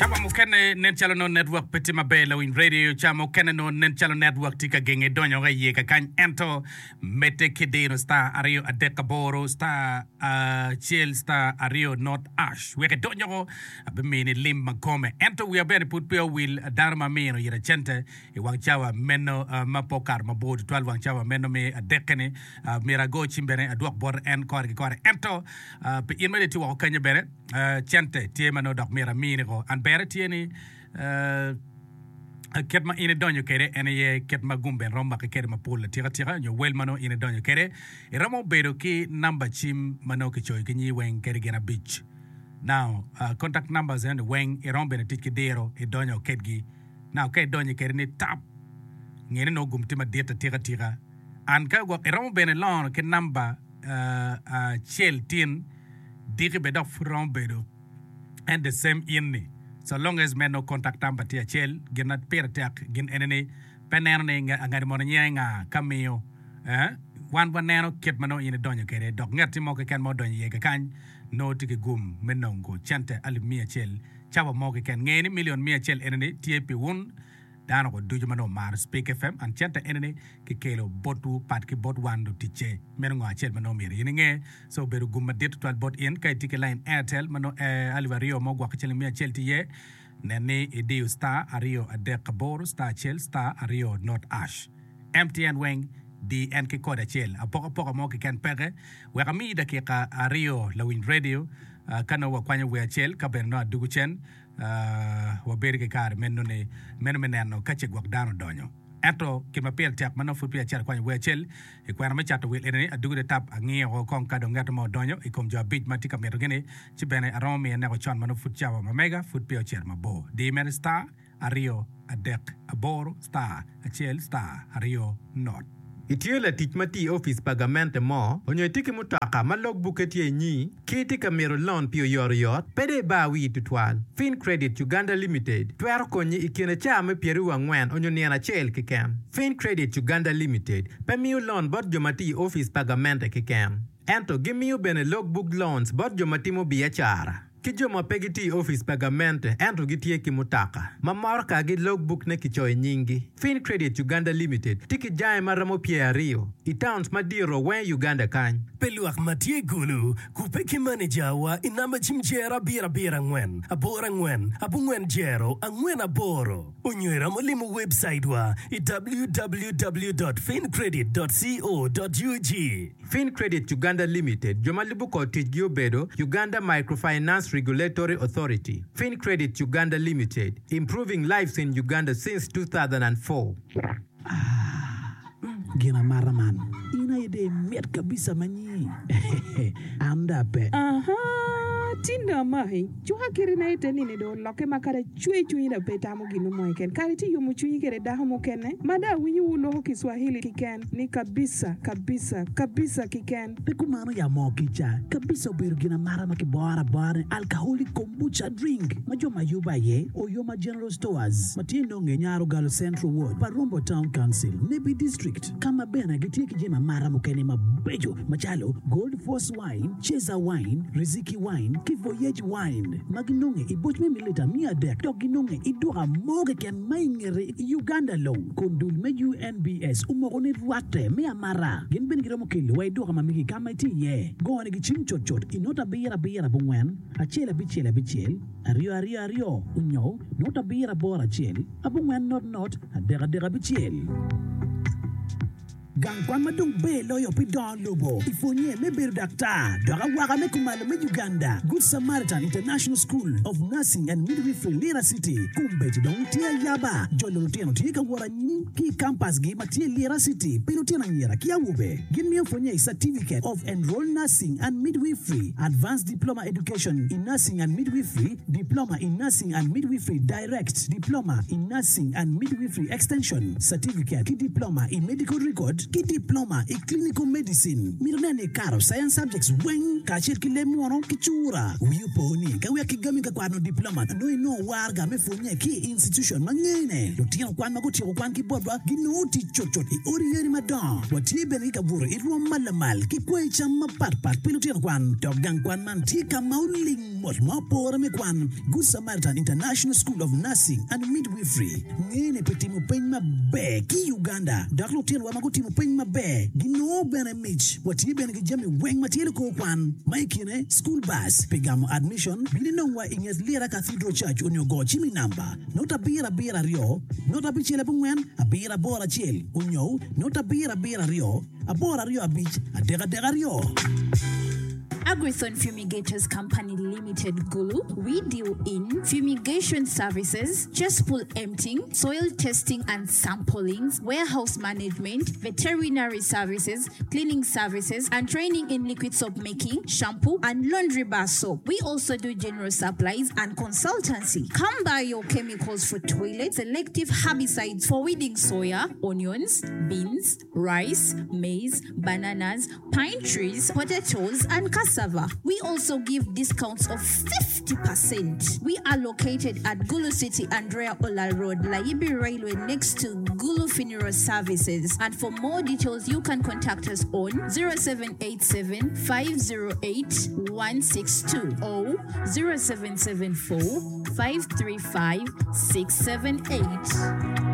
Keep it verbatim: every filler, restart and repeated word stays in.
Cawa mukene nen calo nongo network pe tye maber lawiny radio cawa mukene nongo nen calo network tye ka genge donyo ka iye kakany ento medde ki diro star aryo adek aboro star acel star aryo not ash wek idony oko abimini lim ma kome ento wiya bene pud pe owil dano ma amino ira cente i wang cawa meno ma pe okato mabor tutwal wang cawa meno me adekke-ni myero ago cim bene adwok bote en kore ki kore ento pi in ma dong itye woko kenyo bene Cente tye ma nongo dok myero amini ko. An bere tye ni kit ma in idonyo kwede en aye kit ma gum bene romo maki kwede mapol atika tika nyo wel ma nongo in idonyo kwede. Iromo bedo ki namba cim ma nongo kicoyo ki nyingi weng kadi gin abic. Now, contact numbers eno ni weng iromo bene tic ki diro idonyo kedgi. Now, ka idonyo kwede ni tap, nge ni nongo gum tye madit atika tika. An ka gwok iromo bene lono ki namba acel tin. Diki bene dok pud romo bedo en the same in ni so long as me nongo contact number tye acel gin ma pire tek gin ene ni pe neno ni ngati mono nyinge nga ka miyo eh wan waneno kit ma nongo in idonyo kwede dok ngati mo keken ma odonyo iye kakany nongo tye ki gum me nongo cente alip miya acel cawa mo keken nge ni million miya acel ene ni tye pi wun Dano ko ducu ma nongo omaro Spik FM and cente ene ni ki kelo botwu pat ki bot wan luticce. Meno ngo acel ma nongo myero in inge. So obedo gum madit tutwal bot in ka itye ki line Airtel ma nongo alip aryo mo gwok ki ciling miya acel tye iye. Nen ni idiyo star aryo adek aboro star acel star aryo not ash. M T N weng di en ki kode acel. Apokapoka mo keken peke. Wek amiyi dakika aryo lawiny radio ka nongo wakwanyo wer acel ka bene nongo adugu cen. Wabedo ki kare meno ni meno me neno ka ce gwok dano odonyo. Ento gin ma pire tek ma nongo pud peya acito akwanyo wer acel i kwena me cato wil eni ni adugone tap angiyo woko kong ka dong ngeto mo odonyo i kom jo abic ma tye ka mitogi-ni ci bene aromo miye neko con ma nongo pud cawa ma mega pud peya ocito mabor. Di mere star aryo adek aboro star acel star aryo not. Itye latic ma tye i opic pa gamente mo, onyo itye ki mutoka ma log bukke tye inyi, ki itye ka mito lon pi oyotoyot, pe dong ibar wii tutwal. Fincredit Uganda Limited twero konyi i kine caa me pyeraryo angwen onyo nino acel keken. Fincredit Uganda Limited pe miyo lon bot jo ma tye i opic pa gamente keken, ento gimiyo bene log book loans bot jo ma timo biacara. Ki jo ma pe gitye i opic pa gamente ento gitye ki mutoka ma motokagi logbuk-ne kicoyo nyinggi. Fincredit Uganda Limited tye ki jange ma romo pyer aryo i towns madito weng i Uganda kany. Pe lwak ma tye i Gulu kubbe ki manejawa i namba cim jero abiro abiro angwen aboro angwen abongwen jero angwen aboro onyo iromo limo webcaitwa i W W W dot fincredit dot co dot U G. Fincredit Uganda Limited, jo ma lubo kor ticgi obedo, Uganda Microfinance Regulatory Authority, Fincredit Uganda Limited, improving lives in Uganda since two thousand and four. Ah, gin amata man. In aye dong imit kabisa ma nyi. An dong ape. Ahaa, tin dong amaki. Cuka kirina ite nini dong olokke ma kadi acwe cwinyi dong pe itamo gin mo keken. Kadi itye yomo cwinyi kede dako mukene ma dong awinyo wu loko Kiswahili kiken ni kabisa, kabisa, kabisa kiken. Pe kumano ya moo kica. Kabisa obedo gin amata ma kiboro abora ni alcoholic kombucha drink ma jo ma yubo aye Oyoma General Stores ma tye nonge Nyarogalo Central Ward, Parombo Town Council, Nebbi District ka ma bene gitye ki jami amata mukene mabeco macalo Gold Force Wine, Ceza Wine, Riziki Wine ki Voyage Wine ma ginonge i boc me mililita miya adek dok ginonge i duka mo keken ma i ngete i Uganda long kun dul me U N B S omoko ni rwatte me amata. Gin bene giromo kelo wa i duka ma megi ka ma itye iye. Gonigi cim cutcut i not abiro abiro abongwen, acel abicel abicel, aryo aryo aryo onyo not abiro aboro acel, abongwen not not, adek adek abicel. Gang kwan ma dong ber loyo pi dongo lobo i pwonye me bedo daktar dok awaka me kumalo me Uganda, Good Samaritan International School of Nursing and Midwifery Lira City, kombeddi dong tye ayaba. Jolo lutino tye ka wot anyim ki i kampasgi ma tye i Lira City pi lutino anyira ki awobe. Gin miyo pwonye i Certificate of Enrolled Nursing and Midwifery, Advanced Diploma Education in Nursing and Midwifery, Diploma in Nursing and Midwifery Direct, Diploma in Nursing and Midwifery Extension, Certificate ki Diploma i Medical Record ki Diploma i Clinical Medicine. Mito nen ni ikato Science Subjects weng kacel ki leb muno ki cura. Wi opo ni ka wek kigami ka kwano diploma nongo inongo waraga me pwonye ki i institution ma ngene. Lutino kwan ma gutyeko kwan ki botwa ginongo tic cutcut i odi yadi madongo. Watye bene ki kabuto i rwom ma lamal ki kweyo cam mapatpat pi lutino kwan. Dok gang kwan man tye ka ma oling mot ma opore me kwan. Good Samaritan International School of Nursing and Midwifery ngene pi timo peny maber ki i Uganda dok lutinowa ma gutimo peny maber ginongo bene mic. Watye bene ki jami weng ma tye likor kwan ma i kine school bus pi gamo admission bin inongwa i nget Lira Cathedral Church onyo go cim i namba not abiro abiro aryo not abicel abongwen abiro aboro acel onyo not abiro abiro aryo aboro aryo abic adek adek aryo. Agrithon Fumigators Company Limited Gulu, we deal in fumigation services, cesspool emptying, soil testing and samplings, warehouse management, veterinary services, cleaning services, and training in liquid soap making, shampoo, and laundry bar soap. We also do general supplies and consultancy. Come buy your chemicals for toilets, selective herbicides for weeding soya, onions, beans, rice, maize, bananas, pine trees, potatoes, and cassava. We also give discounts of fifty percent. We are located at Gulu City, Andrea Ola Road, Layibi Railway, next to Gulu Funeral Services. And for more details, you can contact us on zero seven eight seven, five zero eight, one six two or zero seven seven four, five three five, six seven eight.